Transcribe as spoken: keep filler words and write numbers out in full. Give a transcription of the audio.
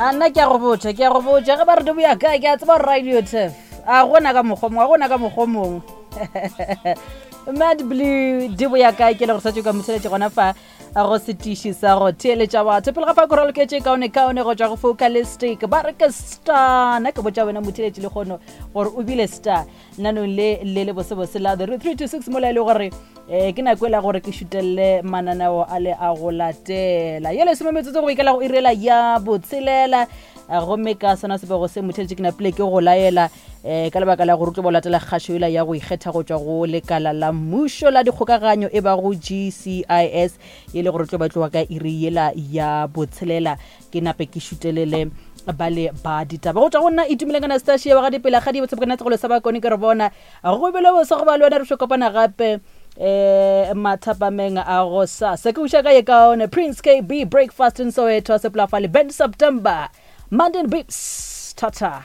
A nna ke a go botša, ke a go botša, ge ba re di boya kae, ke a tseba gore Radio Turf. A gona ka mokgwa mongwe, a gona ka mokgwa mongwe. Mad Blue di boya kae ke le gore sa ka motheletše gona fa go setiši sa go theeletša batho pele ga fa ko raloketše kaone kaone go tšwa go Focalistic ba re ke star. Nna ke botša wena motheletše le kgono gore o bile star nanong le le le bosebose la the three two six mola e le gore um ke nako e la gore ke šutelele mananeo a le a go latela ye lesome metsotso go ikela go irela ya botshelela. Gomme ka sona sebego se motheletše ke napile ke go laela um ka lebaka la gore o tlo bo latela kgašo ela ya go ikgetha go tšwa go lekala la mmušo la dikgokaganyo e ba go G C I S e le gore tlo ba tloga ka iri yela ya botshelela ke nape ke šutelele ba le ba ditaba go tšwa go nna Itumeleng Anastasia wa ga dipela ga di botse bokana tsegolo sa bakone ke re bona go bile bose go ba le wena re tlo kopana gape eh mathapameng a go sasa ke uša ka ye kaone Prince K B Breakfast in Soweto sepla fa le Ben September Monday Beats. Tata.